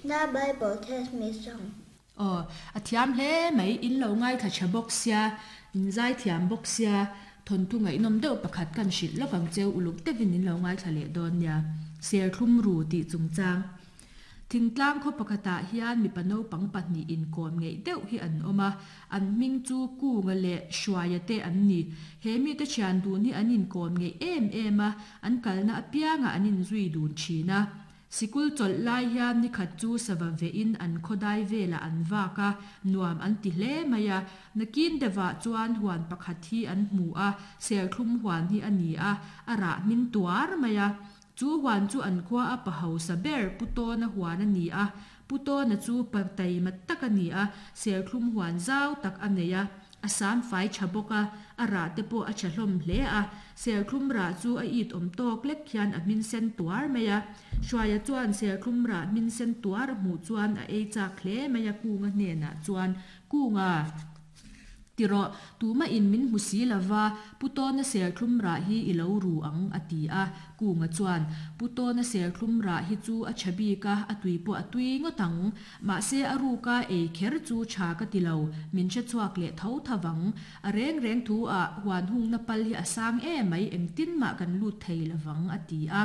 The Bible Tells Me song. Aw, a thiam hle mai, in lo ngaithla tha bawk sia, in zai thiam bawk sia, thawnthu ngaihnawm deuh pakhat kan hrilh lawk ang cheu, uluk deuhin in lo ngaithla leh dawn nia. Serthlum ru tih chungchang. Thingtlang khaw pakhatah hian mipa naupang pahnih inkawm ngeih deuh hi an awm a, an hming chu Kunga leh Hruaia te an ni. He mite thian dun hi an inkawm ngeih em em a, an kalna apiangah an inzui dun thin a. Sikul chawlh lai hian nikhat chu sava vehin an khawdai velah an vak a, nuam an ti hle mai a. Nakin deuhah chuan huan pakhat hi an hmu a, serthlum huan hi a ni a, a rah hmin tuar mai a. Chu huan chu an khua a pa hausa ber Pu Tawna huan a ni a, Pu Tawna chu pa taima tak a ni a, serthlum huan zau tak a nei a, a sam fai tha bawk a, a rah te pawh a tha hlawm hle a, serthlum rah chu a it awm tawk lek hian a hmin sen tuar mai a. Hruaia chuan serthlum rah hmin sen tuar a hmuh chuan a ei chak hle mai a Kunga hnenah chuan, Kunga! Ti rawh, tumah in min hmu si lova, Pu Tawna serthlum rah hi i lo ru ang, a ti a. Kunga chuan, Pu Tawna serthlum rah hi chu a tha bik a, a tui pawh a tui ngawt ang. Mahse a ruka ei kher chu tha ka ti lo, min hre chhuak leh tho tho vang. A reng reng thu ah huan hungna pal hi a sang em mai, engtin mah kan lut thei lovang, a ti a.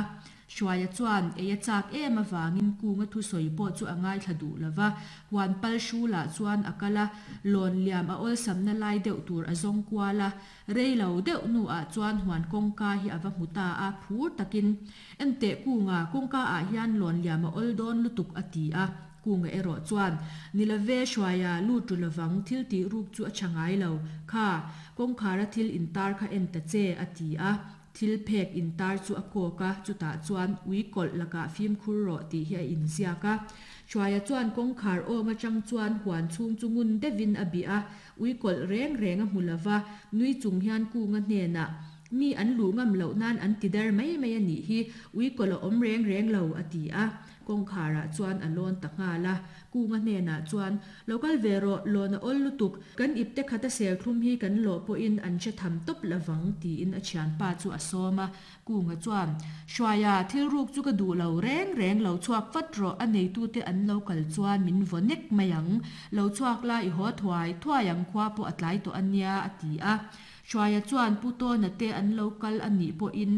Hruaia chuan ei a chak em avangin Kunga thusawi pawh chu a ngaithla duh lo va, huan pal hrulah chuan a kal a, lawn liam a awlsamna lai deuh tur a zawng kual a, rei lo deuh hnuah chuan huan kawngka hi a va hmu ta a, phur takin, Enteh Kunga, kawngka ah hian lawn liam a awl dawn lutuk a ti a, Kunga erawh chuan, Ni love Hruaia, lut ru lovang, thil tih ruk chu a tha ngai lo, kha, kawngkhara thil intar kha en ta che, a ti a. Thil phek intar chu a kawk a, chutah chuan ui kawlh lakah fimkhur rawh tih hi a inziak a. Hruaia chuan kawngkhar awng atang chuan huan chhung chu ngun deuhin a bih a, ui kawlh reng reng a hmu lo va, nui chung hian Kunga hnenah, Mi an luh ngam loh nan an ti der mai mai a nih hi, ui kawlh a awm reng reng lo, a ti a. Kawngkharah chuan a lawn ta nghal a. Kunga hnenah chuan, Lo kal ve rawh, lawn a awl lutuk. Kan ipte khata serthlum hi kan lawh pawhin an hre tham tawp lovang, tiin a thianpa chu a sawm a. Kunga chuan, Hruaia, thil ruk chu ka duh lo reng reng, lo chhuak vat rawh, a neitute an lo kal chuan min vaw nek mai ang. Lo chhuak la, i haw thuai thuai ang, khua pawh a tlai tawh a nia, a ti a. Hruaia chuan, Pu Tawna te an lo kal a nih pawhin,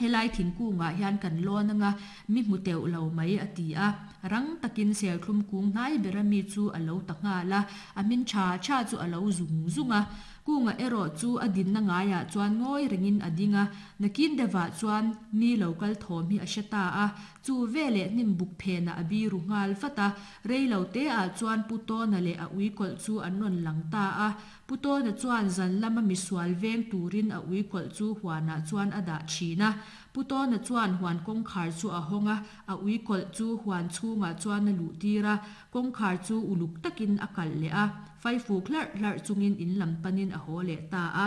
Helai thingkungah hian kan lawn anga mi hmu teuh lo mai a ti a, rang takin serthlum kung hnai bera mi chu a lo ta nghal a, a hmin tha tha chu a lo zung zung a. Kunga erawh chu a dinna ngaiah chuan ngawi rengin a ding a, nakin deuhah chuan mi lo kal thawm hi a hre ta a, chu veleh hnim buk phenah a biru nghal vat a, rei lo teah chuan Pu Tawna leh a uikawlh chu an rawn lang ta a, Pu Tawna chuan zan lama misual veng turin a ui kawlh chu huanah chuan a dah thin a. Pu Tawna chuan huan kawngkhar chu a hawng a, a ui kawlh chu huan chhungah chuan a luh tir a, kawngkhar chu uluk takin a kalh leh a, faifuk hlarh hlarh chungin in lam panin a haw leh ta a.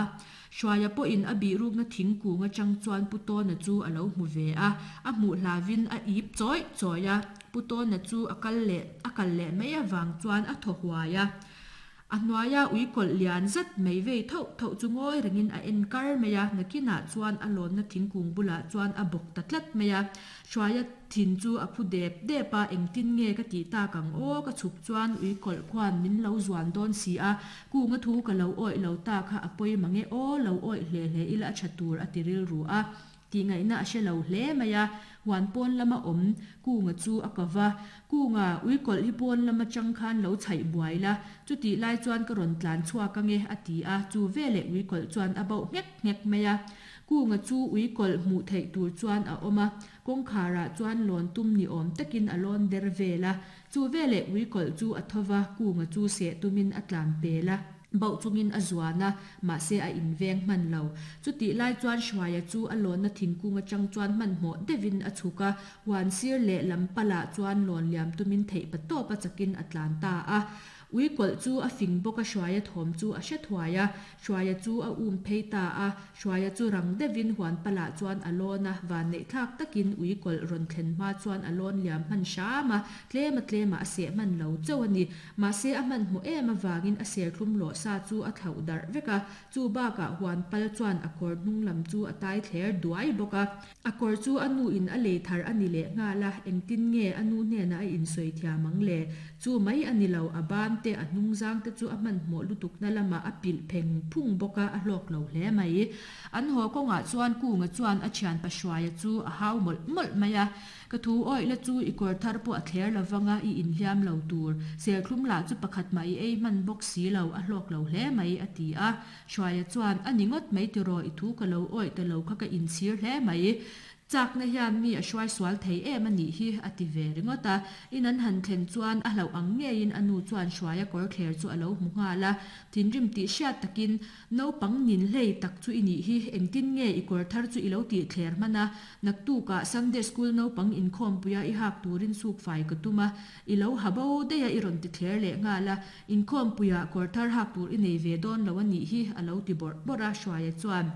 Hruaia pawhin a bihrukna thingkung atang chuan Pu Tawna chu a lo hmu ve a, a hmuh hlavin a ip chawih chawih a. Pu Tawna chu a kal leh a kal leh mai avang chuan a thaw huai a. A hnuaia ui kawlh lian zet mai vei thauh thauh chu ngawi rengin a en kar mai a, nakinah chuan a lawnna thingkung bulah chuan a bawk ta tlat mai a. Hruaia thin chu a phu dep dep a, engtin nge ka tih tak ang aw, ka chhuk chuan ui kawlh khuan min lo zuan dawn si a, kunga thu ka lo awih lo ta kha a pawi mang e aw, lo awih hle hle ila a tha tur a ti rilru a. Tih ngaihna a hre lo hle mai a, huan pawn lama awm Kunga chu a ko va. Kunga, ui kawlh hi pawn lam atang khan lo chhaih buai la, chutih lai chuan ka rawn tlan chhuak ange, a ti a, chu veleh ui kawlh chuan a bauh nghek nghek mai a. Kunga chu ui kawlh hmuh theih tur chuan a awm a, kawngkharah chuan lawn tum ni awm takin a lawn der vel a. Chu veleh ui kawlh chu a tho va, Kunga chu seh tumin a tlan pel a. Bauh chungin a zuan a, mahse a inveng hman lo. Chutih lai chuan Hruaia chu a lawnna thingkung atang chuan hmanhmawh deuhin a chhuk a, huan sir leh lam palah chuan lawn liam tumin theih pa tawp a chakin a tlan ta a. Ui kawlh chu a fing bawk a Hruaia thawm chu a hre thuai a, Hruaia chu a um phei ta a. Hruaia chu rang deuhin huan palah chuan a lawn a, vanneih thlak takin ui kawlh rawn thlen hma chuan a lawn liam hman hram a, tlema tlemah a seh hman lo chauh a ni. Mahse a hmanhmawh em avangin a serthlum lawh sa chu a thlauh darh vek a, chu bakah huan pal chuan a kawr hnung lam chu a tai thler duai bawk a. A kawr chu a nu in a lei thar a ni leh nghal a, engtin nge a nu hnenah a insawi thiam ang le? Chu mai a ni lo, a ban te, a hnungzang te chu a hmanhmawh lutukna lamah a pilh pheng phung bawk a, a hlawk lo hle mai. An haw kawngah chuan Kunga chuan a thianpa Hruaia chu a hau mawlh mawlh mai a, Ka thu awih la chu i kawr thar pawh a thler lo vang a, i inhliam lo tur. Serthlum lah chu pakhat mah i ei hman bawk si lo, a hlawk lo hle mai, a ti a. Hruaia chuan, A ni ngawt mai tiraw, i thu ka lo awih ta lo kha ka inchhir hle mai. Chakna hian mi a hruai sual thei em a nih hi, a ti ve ringawt a. In an han thlen chuan a hlauh ang ngeiin a nu chuan Hruaia kawr thler chu a lo hmu nghal a. Thinrim tih hriat takin, Naupang nin hlei tak chu i nih hi, engtin nge i kawr thar chu i lo tih thler hman a? Naktukah Sunday School naupang inkhawmpuia i hak turin suk fai ka tum a, i lo ha bo daih a i rawn ti thler leh nghal a, inkhawmpuiah kawr thar hak tur i nei ve dawn lo a nih hi, a lo ti bawrh bawrh a, Hruaia chuan,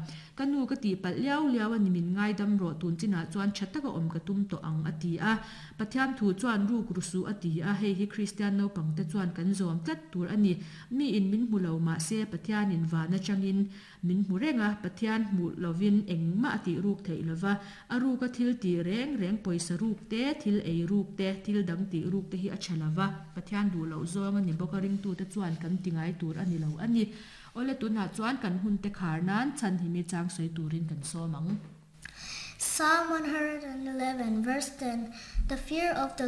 Ka nu ka tih palh liau liau a ni min ngaidam rawh tun chinah chuan tha taka awm ka tum tawh ang a ti a. Pathian thu chuan ruk ru suh a ti a, hei hi Kristian naupangte chuan kan zawm tlat tur a ni. Miin min hmu lo mahse Pathianin van atangin min hmu reng a, Pathian hmuh lovin engmah a tih ruk theih lova, a ruka thil tih reng reng pawisa ruk te, thil ei ruk te, thil dang tih ruk te hi a tha lova, Pathian duh loh zawng a ni bawk a, ringtute chuan kan ti ngai tur a ni lo a ni. Awle tunah chuan kan hunte khar nan chhan hi mi chang sawi turin kan sawm ang. Psalm 111 verse 10 The fear of the.